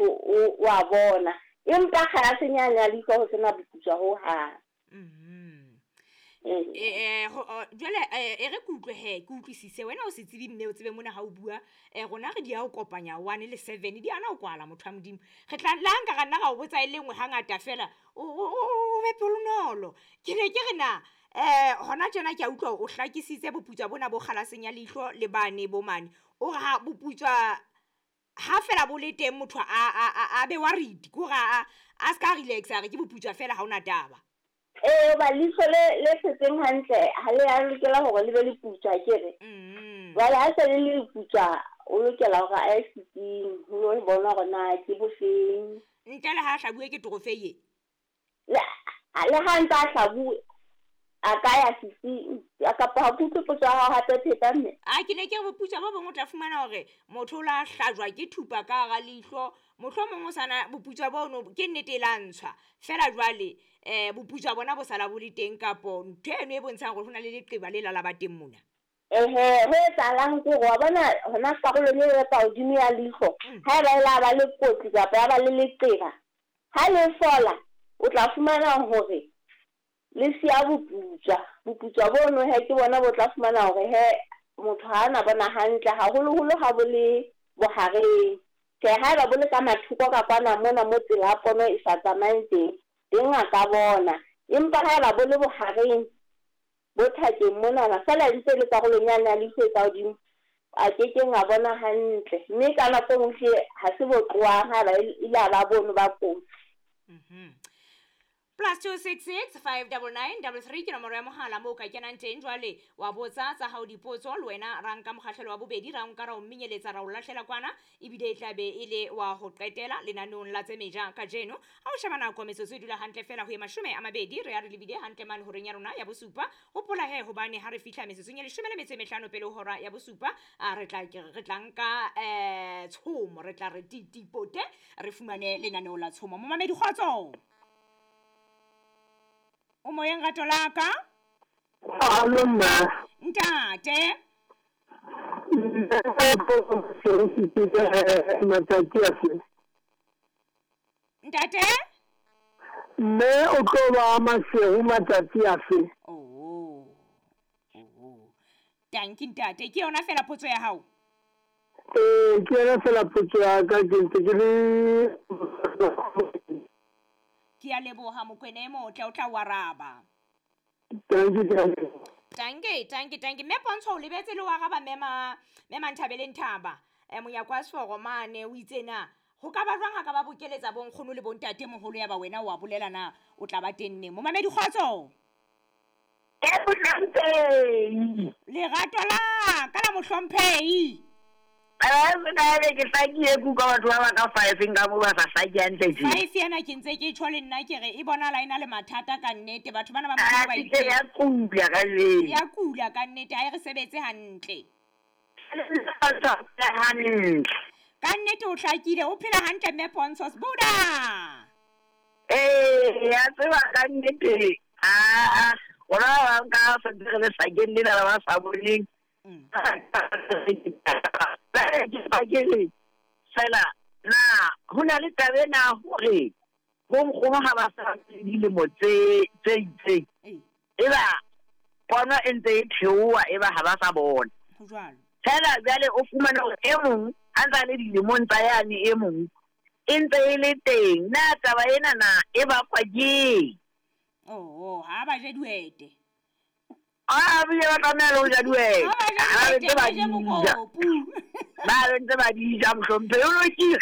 Motho o a bona. Empa kgalaseng yane ya leihlo ho sena boputswa ho hang. Jwale e re ke utlwe he, ke utlwisise wena o se tsebe mme o tsebe mona ha o bua, rona re di ya ho kopanya 1 le 7 di ana ho kwala motho wa Modimo. Re tla le ha nka ra nna ra o botsa e le nngwe hangata fela, o be pelonolo. Ke ne ke re na hona tjena ke a utlwa o hlakisitse boputswa bona bo kgalaseng ya leihlo le bane bo mane. O re ha boputswa ha fela bo le teng motho a be worried, ke hore a ska relax a re ke boputswa fela ha ona taba. Ee, ba leihlo le setseng hantle ha le a lokela hore le be le putswa akere. Jwale ha se le le putswa, o lokela hore a ye setsing ho lo bona hore na ke bofeng. Ntle le ha hlabuwe ke torofei. Le ha ntse a hlabuwe a ka ya setsing kapa ha ke utlwe potso ya hao hape pheta mme. A ke ne ke re boputswa bo bong o tla fumana hore motho o la hlajwa ke thupa ka hara leihlo, mohlomong o sana boputswa bono ke nnete e la ntshwa fela jwale boputswa bona bo sala bo le teng kapo ntho eno e bontshang hore ho na le leqeba le la ba teng mona. Ehe, ho etsahalang ke hore wa bona hona karolong e ka hodimo ya leihlo, ha eba e la ba le kotsi kapa ya ba le leqeba, ha le fola o tla fumana hore le siya boputswa. Boputswa bono he ke bona bo tla fumana hore he motho ha ana bona hantle, haholoholo ha bo le bohareng. Tjhe, ha eba bo le ka mathoko ka kwana mona mo tsela ya pono e sa tsamayeng teng, teng a ka bona. Empa ha eba bo le bohareng bo thakeng monana, feela ntse le karolong yane ya leihlo e ka hodimo, a kekeng a bona hantle. Mme ka nako e nngwe hle ha se bo tlohang ha eba ile a ba bono ba kotsi. +266 599 33 ke nomoro ya mohala moo ka kenang teng. Jwale wa botsa tsa hao dipotso, le wena ra nka mokgahlelo wa bobedi, ra nka ra o minyeletsa, ra o lahlela kwana, ebile e tla be e le wa ho qetela lenaneong la tse meja kajeno. Ha o sheba nako metsotso e dula hantle fela ho ye 20, re ya re lebile hantle mane horeng ya rona ya bosupa. Hopola he hobane ha re fihla metsotsong ya 15 pele ho hora ya bosupa, re tla nka tshomo, re tla re titipote, re fumane lenaneo la tshomo. Momamedi kgotso, o moyeng rato la ka? Alo mma. Ntate. Ntate? Mme o tlo ba Maseru matsatsi afe? Oh. Oh. Tanki ntate, ke yona fela potso ya hao? Ee, ke yona fela potso ya ka, ke ntse ke le Ke a leboha Mokwena e motle, o tla o araba. Tanki. Tanki. Mme Pontsho o lebetse le o araba mema Nthabele Nthaba. Monyako wa Seforo mane o itse na ho ka ba jwang ha ka ba bokeletsa bonkgono le bontate moholo ya ba wena wa bolela na o tla ba teng neng. Momamedi kgotso. Mohlomphehi. Lerato la ka la mohlomphehi. Ke hlakile ke utlwa batho ba ba ka 5 nka mo ba sa hlaki hantle tje. 5 yena ke ntse ke tjho le nna ke re e bonala e na le mathata ka nnete, batho bana ba Modimo ba itse. Ya kula ka jeno. Ya kula ka nnete, ha e re sebetse hantle. Hantle. Ka nnete o hlakile, o phela hantle mme Pontsho Buda. Eh, ya tseba ka nnete. Ah, rona ba nka se re le sakeng lena la ba sa boneng. Fela na ho na le taba ena hore bonkgono ha ba sa dilemo tse itseng, eba pono e ntse e theoha, eba ha ba sa bona. Fela jwale o fumana hore e mong a ntse a le dilemong tsa yane, e mong e ntse e le teng. Na taba ena na e bakwa keng? Oh, ha ba je dihwete. A bile ba tlameha le ho ja dihwete. Ha ba je mokopu. Ba ntse ba di ja mohlomphehi, o lokile.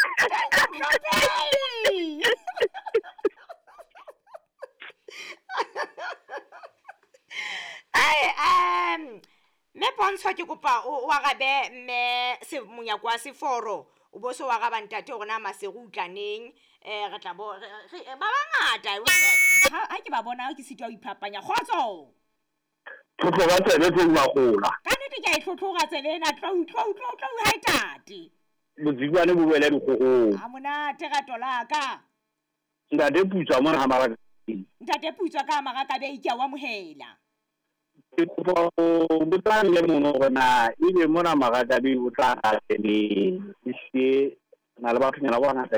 Ai, mme Pontsho ke kopa o arabe mme monyako wa Seforo, o bo so o araba ntate hore na Maseru o tla neng. Re tla bo ba bangata ha ke ba bona ke sitwa ho iphapanya. Kgotso. Tlhotlhora tsebe tse magola. Ka nnete ke a e tlhotlhora tsebe ena, tlou ha e tate. Motsikwane bo boele dikgohong. Ha monate rato la ka. Ntate Putswa mona ha maraka. Ntate Putswa ka maraka be ke a o amohela. Ke kopa ho botsa le mono hore na ebe mona maraka be o tla neng. Ehlile na le bathonyana ba bangata